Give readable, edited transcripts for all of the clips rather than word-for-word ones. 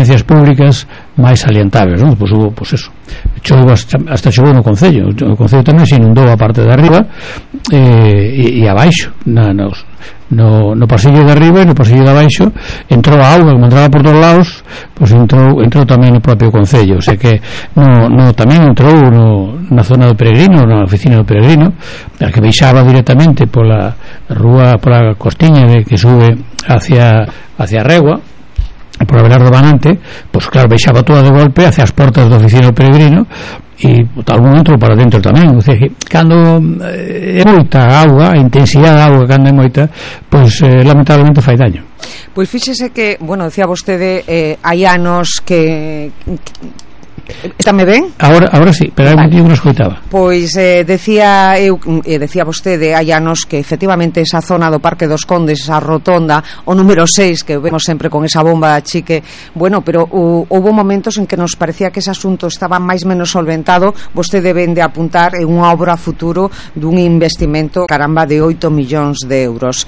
experiencias públicas máis salientables, non? Pois hubo, pois eso, hasta chegou no Concello. O Concello tamén se inundou a parte de arriba e abaixo no pasillo de arriba e no pasillo de abaixo entrou a auga, como entraba por todos lados, pois entrou tamén no propio Concello. O sea que tamén entrou na zona do Peregrino, na oficina do Peregrino, a que baixaba directamente pola rúa, pola costiña que sube hacia a Regua, por Abelardo Banante, pois claro, baixaba toda de golpe hacia as portas da oficina do Peregrino e tal momento para dentro tamén. O sea, cando é moita auga, a intensidade da auga cando é moita, pois lamentablemente fai daño. Pois fíxese que, bueno, decía vostede hai anos que Estame ben? Ahora sí, pero hai motivo que non escoitaba. Pois decía vostede hai anos que efectivamente esa zona do Parque dos Condes, esa rotonda, o número 6 que vemos sempre con esa bomba chique, bueno, pero houve momentos en que nos parecía que ese asunto estaba máis menos solventado. Vostede ven de apuntar en unha obra futuro dun investimento, caramba, de 8 millóns de euros.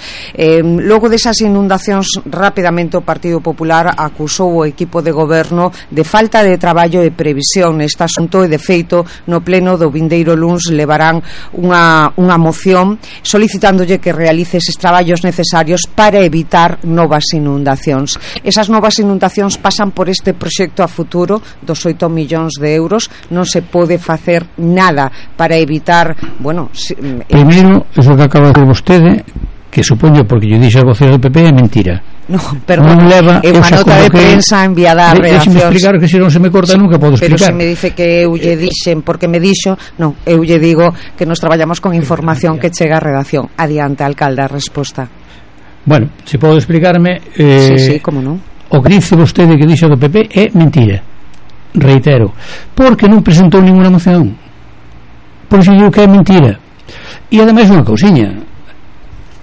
Logo desas inundacións, rapidamente o Partido Popular acusou o equipo de goberno de falta de traballo e previsión neste asunto, e de feito no pleno do vindeiro luns levarán unha moción solicitándolle que realice eses traballos necesarios para evitar novas inundacións. Esas novas inundacións pasan por este proxecto a futuro dos 8 millóns de euros. Non se pode facer nada para evitar, bueno, primeiro, eso que acaba de decir vostede, que supoño, porque yo dixo a vocero do PP, é mentira. No, perdón, é unha nota de prensa enviada a redaccións. Deixe-me explicar, que se non se me corta nunca podo explicar. Pero se me dice que eu lle dixen, porque me dixo, non, eu lle digo que nos traballamos con información que chega a redacción. Adiante, alcalde, a resposta. Bueno, se podo explicarme, sí, como non. O que dice vostede que dixo do PP é mentira. Reitero, porque non presentou ninguna moción. Por iso digo que é mentira. E ademais unha cousiña,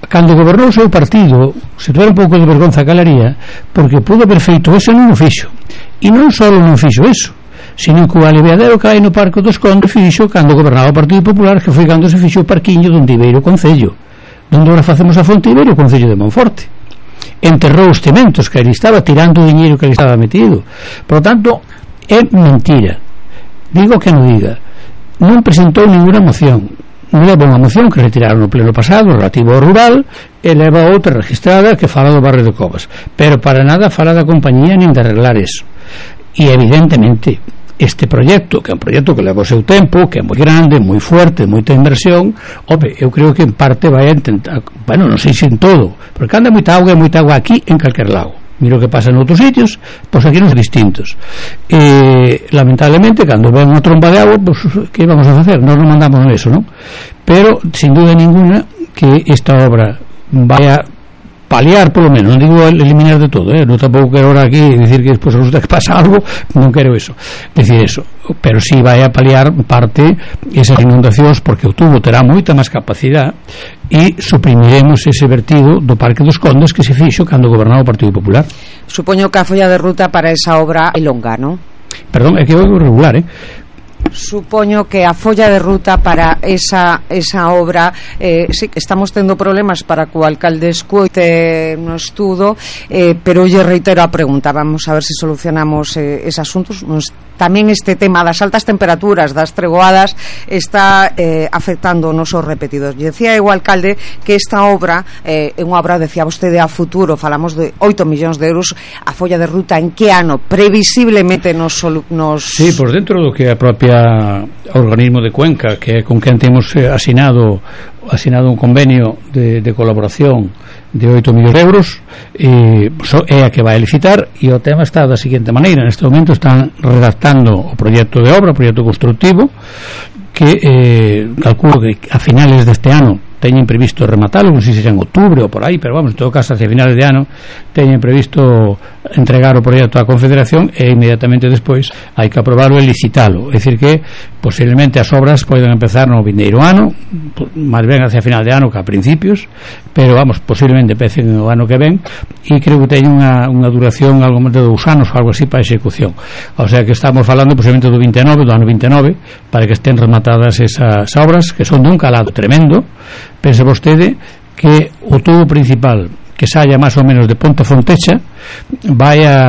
cando gobernou o seu partido, se tuera un pouco de vergonza calaría, porque pudo haber feito eso, non o fixo. E non só non fixo eso, sino que o aliviadero que hai no Parque dos Condes fixo cando gobernaba o Partido Popular, que foi cando se fixo o parquiño donde Ibeiro Concello, donde agora facemos a Fonte Ibeiro Concello de Monforte. Enterrou os cementos, que ali estaba tirando o diñeiro que ali estaba metido. Por lo tanto, é mentira. Digo que non diga. Non presentou ninguna moción. Leva unha moción que retiraron no pleno pasado relativo ao rural, e leva outra registrada que fala do barrio de Covas, pero para nada fala da compañía nin de arreglar eso. E evidentemente este proxecto, que é un proxecto que leva o seu tempo, que é moi grande, moi fuerte, moita inversión, eu creo que en parte vai a intentar, bueno, non sei se en todo, porque anda moita auga aquí en calquer lago. Miro que pasa en outros sitios, pois aquí non son distintos. Lamentablemente, cando ven unha tromba de agua, pois que vamos a facer? Nós non mandamos eso, non? Pero, sin duda ninguna, que esta obra vai a paliar, polo menos, non digo eliminar de todo, non tampouco quero ahora aquí decir que despois resulta que pasa algo, non quero eso, decir eso, pero si vai a paliar parte esas inundacións, porque o tubo terá moita máis capacidade e suprimiremos ese vertido do Parque dos Condes que se fixo cando gobernaba o Partido Popular. Supoño que a folla de ruta para esa obra é longa, non? Perdón, é que é regular, Supoño que a folla de ruta para esa obra, sí, que estamos tendo problemas para que o alcalde escoite no estudo, pero lle reitero a pregunta, vamos a ver se solucionamos esos asuntos. Tamén este tema das altas temperaturas, das tregoadas, está afectando os nosos repetidos. Decía o alcalde que esta obra é unha obra, decía vostede, a futuro, falamos de 8 millóns de euros. A folla de ruta en que ano previsiblemente nos... Sí, por dentro do que a propia organismo de Cuenca, que é con quen temos asinado un convenio de colaboración de 8 millóns de euros, é a que vai a licitar, e o tema está da seguinte maneira: neste momento están redactando o proxecto de obra, o proxecto constructivo, que calculo que a finales deste ano teñen previsto rematalo, non sei se en outubro ou por aí, pero vamos, en todo caso, hacia finales de ano teñen previsto entregar o proxecto á Confederación, e inmediatamente despois hai que aprobarlo e licitalo. É dicir que posiblemente as obras poden empezar no vindeiro ano, máis ben hacia final de ano que a principios, pero vamos, posiblemente empecen o ano que ven, e creo que teñen unha duración algo máis de 2 anos ou algo así para a execución. O sea que estamos falando posiblemente do ano 29, para que estén rematadas esas obras, que son de un calado tremendo. Pense vostede que o tubo principal que saia máis ou menos de Ponte Fontecha vai a